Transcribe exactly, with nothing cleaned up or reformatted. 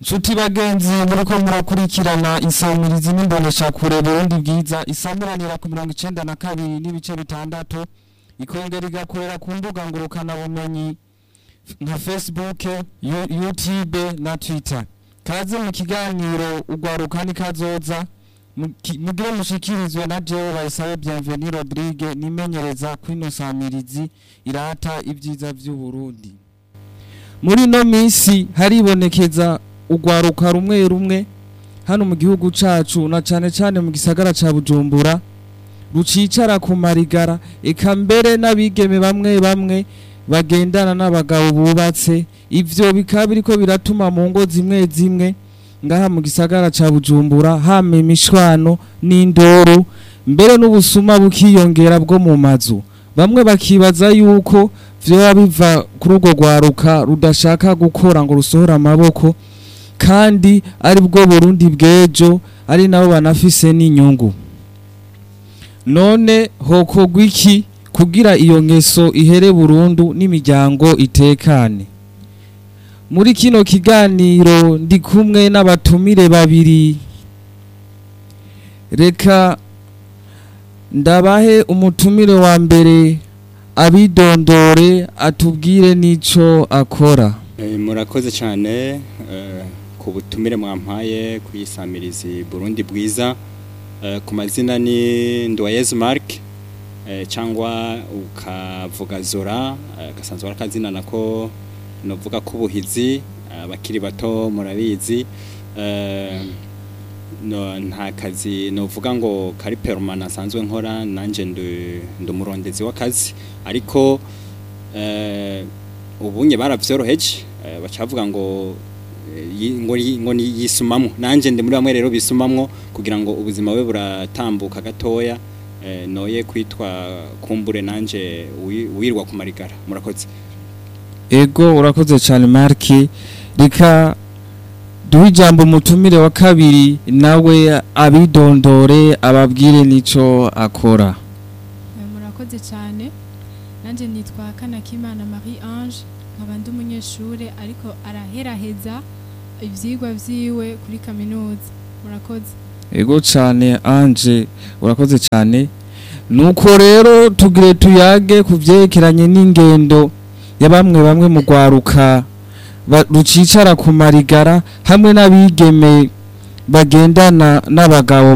Nshuti bagenzi, muriko murakurikirana insamirizi n'imboneshakure Burundi Bwiza, isamiranira ku mirongo icenda na kabiri n'ibice bitandatu, ikongera igakorera ku mbuga ngurukana bumenyi nka Facebook, Yu- YouTube na Twitter. Kaze mu kiganiro Ugwaruka ni Kazoza, muki- mugire mushikirizwe na jewe Bayisabe Bienvenue Rodrigue, nimenyereza kwino samirizi irata ibyiza vy'u Burundi. Muri no minsi haribonekeza ugwaruka rumwe rumwe hano mu gihugu cacu, na cane cane mu gisagara ca Bujumbura, rucicara ku marigara, eka mbere n'abigeme bamwe bamwe bagendana n'abagabo bubatse. Ivyo bikaba biriko biratuma mu ngo zimwe zimwe ngaha mu gisagara ca Bujumbura hama imishwano n'indoro, mbere n'ubusuma bukiyongera bwo mu mazu. Bamwe bakibaza yuko vyoba biva kuri urwo rwaruka rudashaka gukora ngo rusohore amaboko, kandi ari bwo Burundi bw'ejo, ari nabo banafise n'inyungu. None hokorwa iki kugira iyo ngeso ihere burundu n'imiryango itekane? Muri kino kiganiro ndi kumwe n'abatumire babiri. Reka ndabahe umutumire wa mbere abidondore, atubwire n'ico akora. Eh, murakoze cyane eh, ku butumire mwampaye kuyisamirizi Burundi Bwiza. Eh, ku mazina ni Ndoyezu Mark, eh, cyangwa ukavuga Zora, eh, gasanzwe ari akazina nako novuga kubuhizi, abakiri bato murabizi. eh, no, nta kazi novuga ngo kari permanent asanzwe nkora, nanje ndi umurondezi w'akazi, ariko eh, ubunye baravyoroheje, eh, bacavuga ngo eh, yi- ngo yi- ngo ni yisumamwo. Nanje ndi muri bamwe rero bisumamwo kugira ngo ubuzima bwe buratambuka gatoya, eh, noye kwitwa kumbure nanje wi- wirwa ku marigara. Murakoze. Ego, urakoze cyane Mark. Reka duhe ijambo umutumire wa kabiri, nawe abidondore, ababwire n'ico akora. Eh, murakoze cyane. Nanjye nitwa Kanakimana Marie Ange, nkaba ndi umunyeshure ariko araheraheza ivyigwa vyiwe kuri kaminuza. Murakoze. Ego cyane Ange, urakoze cyane. Nuko rero tugire tuyage ku vyerekeranye n'ingendo ya bamwe bamwe mu rwaruka ba- rucicara ku marigara hamwe n'abigeme bagendana n'abagabo.